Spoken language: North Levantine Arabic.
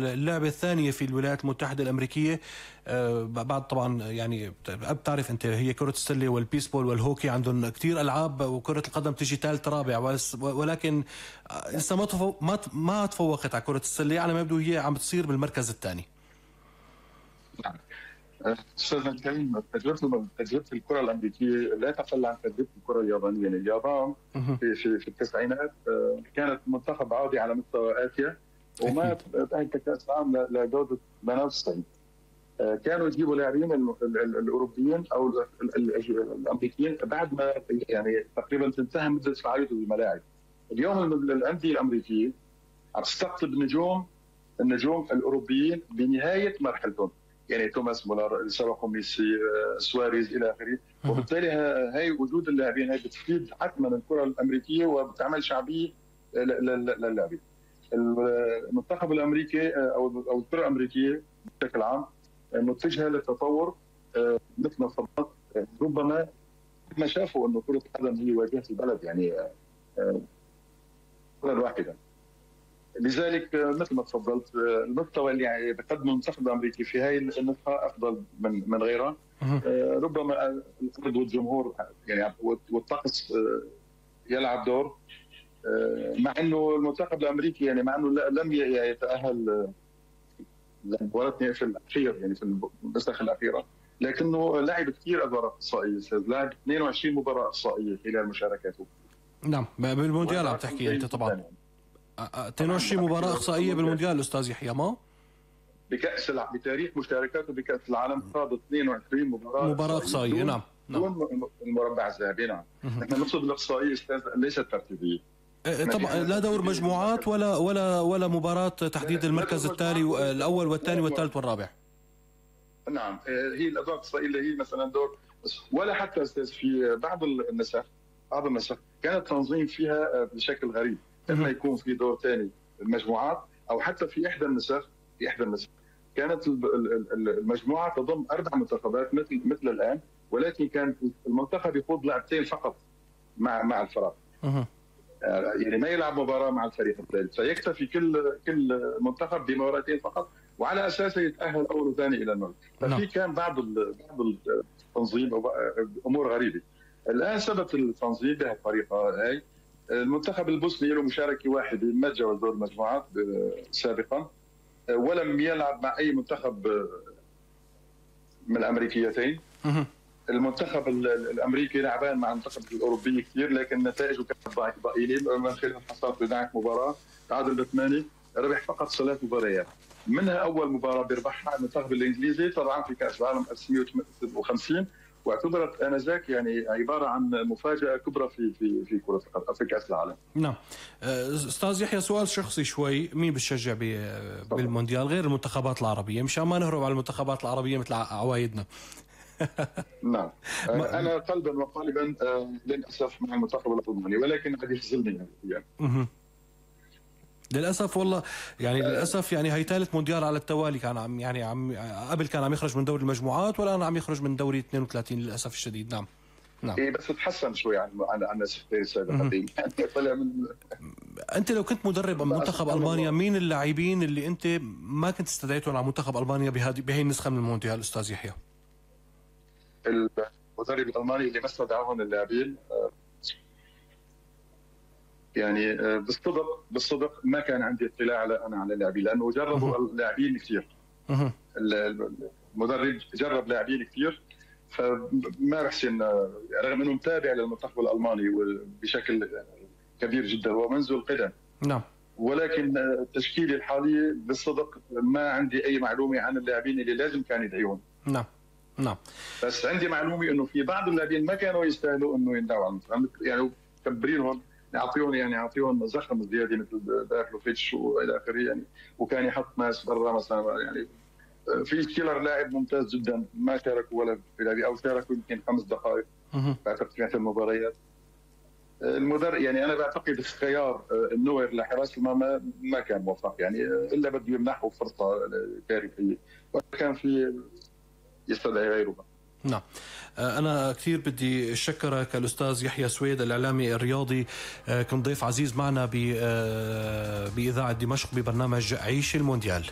اللعبة الثانية في الولايات المتحدة الأمريكية بعد طبعا يعني بتعرف أنت هي كرة السلة والبيسبول والهوكي عندهم كتير ألعاب، وكرة القدم تجي ثالث رابع، ولكن لسه ما تفوقت على كرة السلة على ما يبدو. هي عم بتصير بالمركز الثاني. أستاذنا الكريم، تجربة الكرة الأمريكية لا تقل عن تجربة الكرة اليابانية. يعني اليابان في التسعينات كانت منتخب عادي على مستوى آسيا، وما تأهل كأس العالم لجودة 98. كانوا يجيبوا لاعبين الأوروبيين أو الأمريكيين بعد ما يعني تقريبا تنتهي مدة فعاليته بالملاعب. اليوم الأندية الأمريكية عم تستقطب النجوم الأوروبيين بنهاية مرحلتهم، يعني توماس مولر، سبقوا ميسي، سواريز الى اخره. وبالتالي هاي وجود اللاعبين هاي بتفيد حتما الكره الامريكيه وبتعمل شعبيه للاعبين. المنتخب الامريكي او الكره الامريكيه بشكل عام متجهه للتطور مثل ما تفضلت. ربما ما شافوا انه كره القدم هي واجهه البلد، يعني كره واحده. لذلك مثل ما تفضلت المستوى اللي يعني بقدمه المنتخب الامريكي في هاي النسخه افضل من غيرها. ربما الارض والجمهور يعني والطقس يلعب دور، مع انه المنتخب الامريكي يعني مع انه لم يتاهل لمباراه في الاخير، يعني في النسخ الاخيره، لكنه لعب كثير ادوار اقصائيه. لعب 22 مباراه اقصائيه خلال مشاركاته. نعم، بالمونديال عم تحكي انت طبعا. 22 مباراة إقصائية بالمونديال أستاذ يحيى. ما بتاريخ مشاركاته بكأس العالم خاض 22 مباراة إقصائية. نعم. دون المربع الذهبي. نعم. نحن نقصد الإقصائية ليست ترتيبية. طبعا لا دور مجموعات ولا مباراة تحديد المركز التالي الأول والثاني والثالث والرابع. نعم، هي الأدوار الإقصائية اللي هي مثلا دور، ولا حتى أستاذ في بعض النسخ كان التنظيم فيها بشكل غريب. لما يكون في دور ثاني المجموعات، او حتى في احدى النسخ كانت المجموعه تضم 4 منتخبات مثل الان، ولكن كان المنتخب يخوض لعبتين فقط مع الفرق. يعني ما يلعب مباراه مع الفريق الثالث، فيكتفي كل منتخب بمباراتين فقط، وعلى اساسه يتاهل اول وثاني الى الموت. ففي كان بعض التنظيم امور غريبه. الان ثبت التنظيم بهالطريقه هاي. المنتخب البوسني له مشاركه واحده، ما تجاوز دور المجموعات سابقا، ولم يلعب مع اي منتخب من الامريكيتين. المنتخب الامريكي لعبان مع المنتخب الاوروبي كثير، لكن نتائجه كانت ضئيله. من خلال حصاد 11 مباراه، تعادل ب8، ربح فقط 3 مباريات، منها اول مباراه بيربحها المنتخب الانجليزي طبعا في كاس العالم 1956، واعتبرت انذاك يعني عباره عن مفاجاه كبرى في كره القدم في كاس العالم. نعم. استاذ يحيى، سؤال شخصي شوي، مين بتشجع بالمونديال غير المنتخبات العربيه، مشان ما نهرب على المنتخبات العربيه مثل عوايدنا؟ نعم، انا قلبا وقالبا للاسف مع المنتخب الالماني، ولكن قد يخذلني يعني. للاسف والله، يعني للاسف يعني هي ثالث مونديال على التوالي. كان عم قبل كان عم يخرج من دوري المجموعات، والان عم يخرج من دوري 32 للاسف الشديد. نعم. إيه بس تحسن شوي عن النسختين السابقتين. طلع من انت لو كنت مدرب منتخب المانيا، مين اللاعبين اللي انت ما كنت استدعيتهم على منتخب المانيا بهي النسخه من المونديال استاذ يحيى؟ المدرب الالماني اللي ما استدعاهم اللاعبين يعني بالصدق ما كان عندي اطلاع على اللاعبين، لانه جربوا اللاعبين كثير. المدرب جرب لاعبين كثير، فما بحسن، رغم انه متابع للمنتخب الالماني بشكل كبير جدا ومنذ القدم. نعم. ولكن تشكيلي الحالي بالصدق ما عندي اي معلومه عن اللاعبين اللي لازم كان يدعيهم. نعم. بس عندي معلومه انه في بعض اللاعبين ما كانوا يستاهلوا انه يندعوا على المنتخب، يعني كبرينهم، يعطيهم زخم زياده مثل باكلوفيتش والى اخره يعني، وكان يحط ناس برا مثلا. يعني في كيلر لاعب ممتاز جدا ما شاركوا ولا في لعبه، او شاركوا يمكن 5 دقائق بعتقد في المباريات. المدرب يعني انا بعتقد الخيار النوير لحراس المرمى ما كان موفق، يعني الا بده يمنحه فرصه تاريخيه، وكان في يستدعي غيره. نعم. أنا كثير بدي أشكرك الأستاذ يحيى سويد، الإعلامي الرياضي، كنت ضيف عزيز معنا بإذاعة دمشق ببرنامج عيش المونديال.